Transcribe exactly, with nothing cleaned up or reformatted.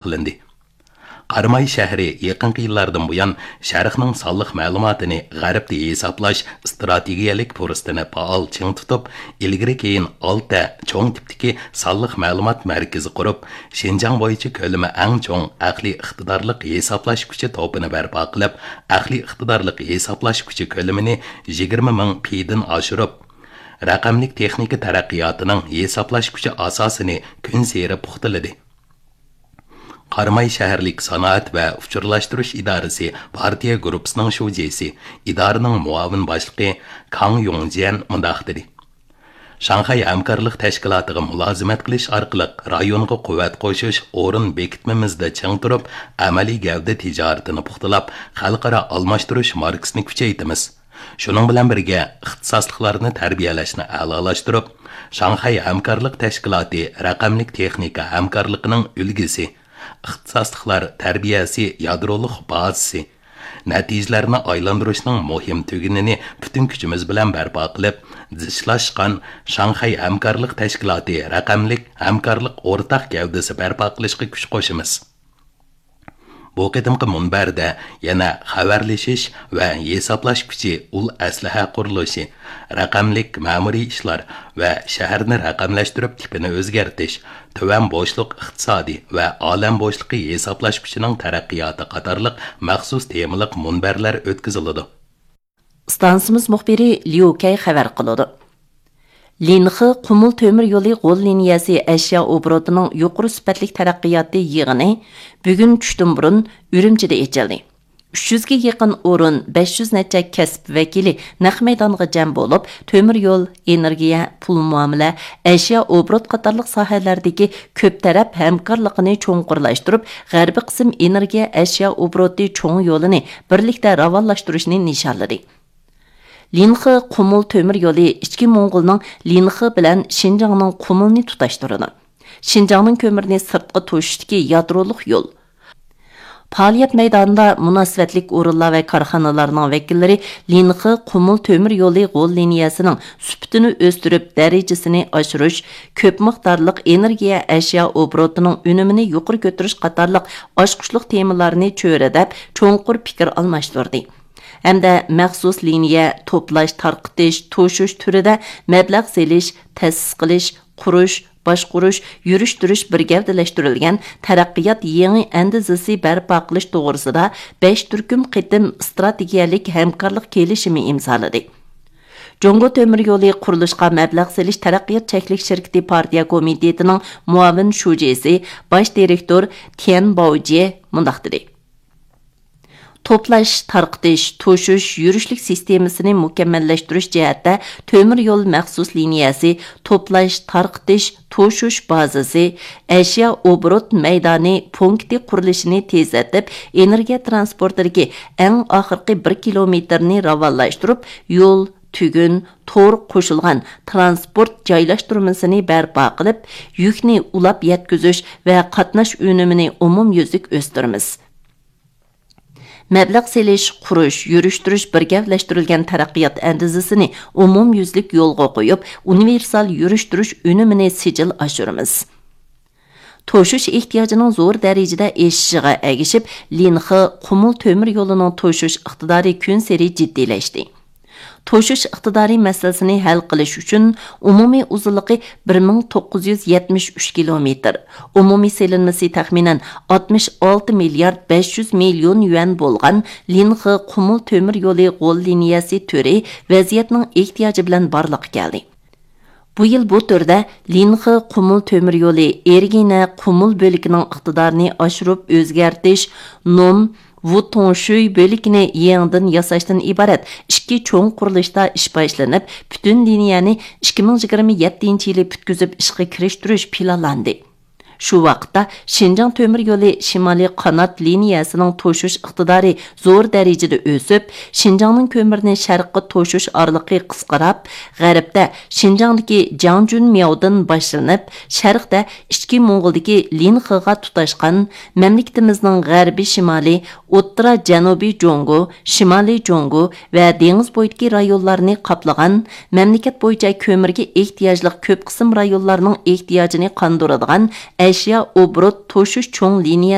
قىلىندى. قاراماي شەھىرى يېقىنقى يىللاردىن بۇيان شەرقنىڭ سانلىق مەلۇماتىنى غەربتە ھېسابلاش ئىستراتېگىيەلىك پۇرسىتىنى پائال چىڭ تۇتۇپ، ئىلگىرى كېيىن ئالتە چوڭ تىپتىكى سانلىق مەلۇمات مەركىزى قۇرۇپ، شىنجاڭ بويىچە كۆلىمى ئەڭ چوڭ ئەقلىي ئىقتىدارلىق ھېسابلاش كۈچى توپىنى بەرپا قىلىپ، ئەقلىي ئىقتىدارلىق ھېسابلاش كۈچى كۆلىمىنى يىگىرمە مىڭ پىدىن ئاشۇرۇپ، رەقەملىك تېخنىكا تەرەققىياتىنىڭ ھېسابلاش كۈچى ئاساسىنى كۈنسېرى پۇختىلىدى. قاراماي شەھەرلىك سانائەت ۋە ئۇچۇرلاشتۇرۇش ئىدارىسى پارتىيە گۇرۇپپىسىنىڭ شۇجىسى، ئىدارىنىڭ مۇئاۋىن باشلىقى كاڭ يۇڭجيەن مۇنداق دېدى: شاڭخەي ھەمكارلىق تەشكىلاتىغا مۇلازىمەت قىلىش ئارقىلىق رايونغا قۇۋۋەت قوشۇش، ئورۇن بېكىتمىمىزدە چىڭ تۇرۇپ، ئەمەلىي گەۋدە تىجارىتىنى پۇختىلاپ، خەلقئارا ئالماشتۇرۇش ماركىسىنى كۈچەيتىمىز. شۇنىڭ بىلەن بىرگە، ئىختىساسلىقلارنى تەربىيەلەشنى ئەلالاشتۇرۇپ، شاڭخەي ھەمكارلىق تەشكىلاتى رەقەملىك تېخنىكا ھەمكارلىقىنىڭ ئۈلگىسى، ئىختىساسلىقلار تەربىيەسى يادرولۇق بازىسى، نەتىجىلەرنى ئايلاندۇرۇشنىڭ مۇھىم تۈگۈنىنى پۈتۈن كۈچىمىز بىلەن بەرپا قىلىپ، زىچلاشقان شاڭخەي ھەمكارلىق تەشكىلاتى رەقەملىك ھەمكارلىق ئورتاق گەۋدىسى بەرپا قىلىشقا كۈچ قوشىمىز. بۇ قېتىمقى مۇنبەردە يەنە خەۋەرلىشىش ۋە ھېسابلاش كۈچى، ئۇل ئەسلىھە قۇرۇلۇشى، رەقەملىك مەمۇرىي ئىشلار ۋە شەھەرنى رەقەملەشتۈرۈپ تىپىنى ئۆزگەرتىش، تۆۋەن بوشلۇق ئىقتىسادى ۋە ئالەم بوشلۇقى ھېسابلاش كۈچىنىڭ تەرەققىياتى قاتارلىق مەخسۇس تېمىلىق مۇنبەرلەر ئۆتكۈزۈلىدۇ. ئىستانسىمىز مۇخبىرى ليۇ كەي خەۋەر قىلىدۇ. لىنخې قۇمۇل تۆمۈر يولى غول لىنىيەسى ئەشيا ئوبوروتىنىڭ يۇقىرى سۈپەتلىك تەرەققىياتى يىغىنى بۈگۈن چۈشتىن بۇرۇن ئۈرۈمچىدە ئېچىلدى. ئۈچ يۈزگە يېقىن ئورۇن، بەش يۈز نەچچە كەسىپ ۋەكىلى نەق مەيدانغا جەم بولۇپ، تۆمۈر يول، ئېنېرگىيە، پۇل مۇئامىلە، ئەشيا ئوبوروت قاتارلىق ساھەلەردىكى كۆپ تەرەپ ھەمكارلىقىنى چوڭقۇرلاشتۇرۇپ، غەربىي قىسىم ئېنېرگىيە ئەشيا ئوبوروتى چوڭ يولىنى بىرلىكتە راۋانلاشتۇرۇشنى نىشانلىدى. لىنخې قۇمۇل تۆمۈر يولى ئىچكى موڭغۇلنىڭ لىنخې بىلەن شىنجاڭنىڭ قۇمۇلنى تۇتاشتۇرىدۇ. شىنجاڭنىڭ كۆمۈرىنى سىرتقا توشۇشتىكى يادرولۇق يول. پائالىيەت مەيدانىدا مۇناسىۋەتلىك ئورۇنلار ۋە كارخانىلارنىڭ ۋەكىللىرى لىنخې قۇمۇل تۆمۈر يولى غول لىنىيەسىنىڭ سۈپىتىنى ئۆستۈرۈپ، دەرىجىسىنى ئاشۇرۇش، كۆپ مىقدارلىق ئېنېرگىيە ئەشيا ئوبوروتىنىڭ ئۈنۈمىنى يۇقىرى كۆتۈرۈش قاتارلىق ئاچقۇچلۇق تېمىلارنى چۆرىدەپ، چوڭقۇر پىكىر ئالماشتۇردى. ھەمدە مەخسۇس لىنىيە، توپلاش، تارقىتىش، توشۇش تۈرىدە مەبلەغ سېلىش، تەسىس قىلىش، قۇرۇش، باشقۇرۇش، يۈرۈشتۈرۈش بىر گەۋدىلەشتۈرۈلگەن تەرەققىيات يېڭى ئەندىزىسى بەرپا قىلىش توغرىسىدا بەش تۈركۈم قېتىم ئىستراتېگىيەلىك ھەمكارلىق كېلىشىمى ئىمزالىدى. جۇڭگو تۆمۈر يولى قۇرۇلۇشقا مەبلەغ سېلىش تەرەققىيات چەكلىك شىركىتى پارتىيە كومىتېتىنىڭ مۇئاۋىن شۇجىسى، باش دىرېكتور تيەن باۋجيې مۇنداق دېدى: توپلاش، تارقىتىش، توشۇش، يۈرۈشلۈك سىستېمىسىنى مۇكەممەللەشتۈرۈش جەھەتتە تۆمۈر يول مەخسۇس لىنىيەسى، توپلاش، تارقىتىش، توشۇش بازىسى، ئەشيا ئوبوروت مەيدانى پونكىتى قۇرۇلۇشىنى تېزلىتىپ، ئېنېرگىيە تىرانسپورتىدىكى ئەڭ ئاخىرقى بىر كىلومېتىرنى راۋانلاشتۇرۇپ، يول، تۈگۈن، تور قوشۇلغان تىرانسپورت جايلاشتۇرمىسىنى بەرپا قىلىپ، يۈكنى ئۇلاپ يەتكۈزۈش ۋە قاتناش ئۈنۈمىنى ئومۇميۈزلۈك ئۆستۈرىمىز. مەبلەغ سېلىش، قۇرۇش، يۈرۈشتۈرۈش بىر گەۋدىلەشتۈرۈلگەن تەرەققىيات ئەندىزىسىنى ئومۇميۈزلۈك يولغا قويۇپ، ئۇنىۋېرسال يۈرۈشتۈرۈش ئۈنۈمىنى سىجىل ئاشۇرىمىز. توشۇش ئېھتىياجىنىڭ زور دەرىجىدە ئېشىشىغا ئەگىشىپ، لىنخې قۇمۇل تۆمۈر يولىنىڭ توشۇش ئىقتىدارى كۈنسېرى جىددىيلەشتى. توشۇش ئىقتىدارى مەسىلىسىنى ھەل قىلىش ئۈچۈن ئومۇمىي ئۇزۇنلۇقى بىر مىڭ توققۇز يۈز يەتمىش ئۈچ كىلومېتىر، ئومۇمىي سېلىنمىسى تەخمىنەن ئاتمىش ئالتە مىليارد بەش يۈز مىليون يۈەن بولغان لىنخې قۇمۇل تۆمۈر يولى غول لىنىيەسى تۈرى ۋەزىيەتنىڭ ئېھتىياجى بىلەن بارلىققا كەلدى. بۇ يىل بۇ تۈردە لىنخې قۇمۇل تۆمۈر يولى ئېرگىنە قۇمۇل بۆلىكىنىڭ ئىقتىدارىنى ئاشۇرۇپ ئۆزگەرتىش، نوم ۋۇتۇڭشۈي بۆلىكىنى يېڭىدىن ياساشتىن ئىبارەت ئىككى چوڭ قۇرۇلۇشتا ئىش باشلىنىپ، پۈتۈن لىنىيەنى ئىككى مىڭ يىگىرمە يەتتىنچى يىلى پۈتكۈزۈپ ئىشقا كىرىشتۈرۈش پىلانلاندى. شۇ ۋاقىتتا شىنجاڭ تۆمۈر يولى شىمالىي قانات لىنىيەسىنىڭ توشۇش ئىقتىدارى زور دەرىجىدە ئۆسۈپ، شىنجاڭنىڭ كۆمۈرنى شەرققە توشۇش ئارىلىقى قىسقىراپ، غەربتە شىنجاڭدىكى جاڭجۈنمياۋدىن باشلىنىپ، شەرقتە ئىچكى موڭغۇلدىكى لىنخېغا تۇتاشقان، مەملىكىتىمىزنىڭ غەربىي شىمالىي، ئوتتۇرا جەنۇبىي جۇڭگو، شىمالىي جۇڭگو ۋە دېڭىز بويىدىكى رايونلارنى قاپلىغان، مەملىكەت بويىچە كۆمۈرگە ئېھتىياجلىق كۆپ قىسىم رايونلارنىڭ ئېھتىياجىنى قاندۇرىدىغان ئەشيا ئوبوروت توشۇش چوڭ لىنىيە